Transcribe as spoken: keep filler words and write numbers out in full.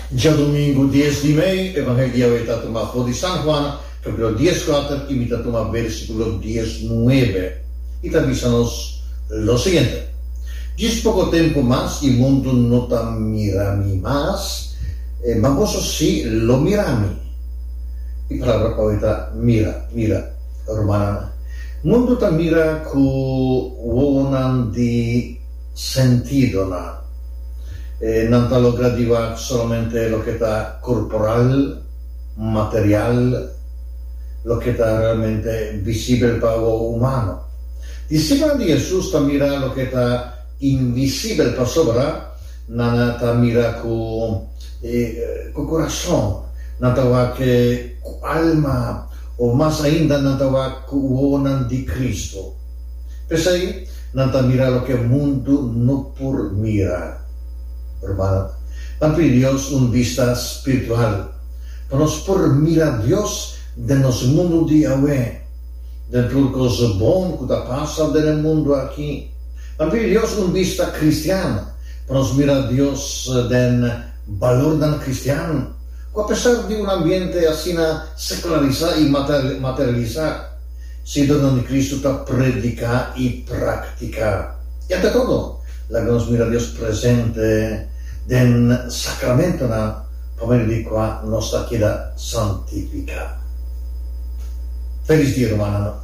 Djadumingu dies di mei, Evangelio ta tumá for di San Juan, kapítulo dieskuater, i mi ta tuma versíkulo diesnuebe. I ta bisa nos lo siguiente: Djis poko tempu mas i mundu no ta mira mi mas, eh, ma boso sí lo mira mi. E palabra pa ta mira, mira, rumannan. Mundu ta mira ku wowonan di sentidonan. Eh, nan ta logra di wak solamente loke ta korporal, material, loke ta realmente visibel pa e humano. Disipelnan di Hesus ta mira loke ta invisibel, pasobra nan ta mira ku eh, ku kurason, nan ta wak ku alma, òf mas ainda nan ta wak ku wowonan di Kristu. P'esei, nan ta mira loke mundu no por mira. Ruman, ban pidi Dios un bista spiritual, pa nos por mira Dios den nos mundu di awe, den tur kos bon ku ta pasa den mundu aki. Ban pidi Dios un bista kristian, pa nos mira Dios den balornan kristian, ku apesar di un ambiente asina sekularisá i materialisá, siguidónan di Kristu ta prediká i praktiká. I ante todo, laga nos mira Dios presente den sakramentonan pa medio di kua nos ta keda santifiká. Felis dia, rumannan.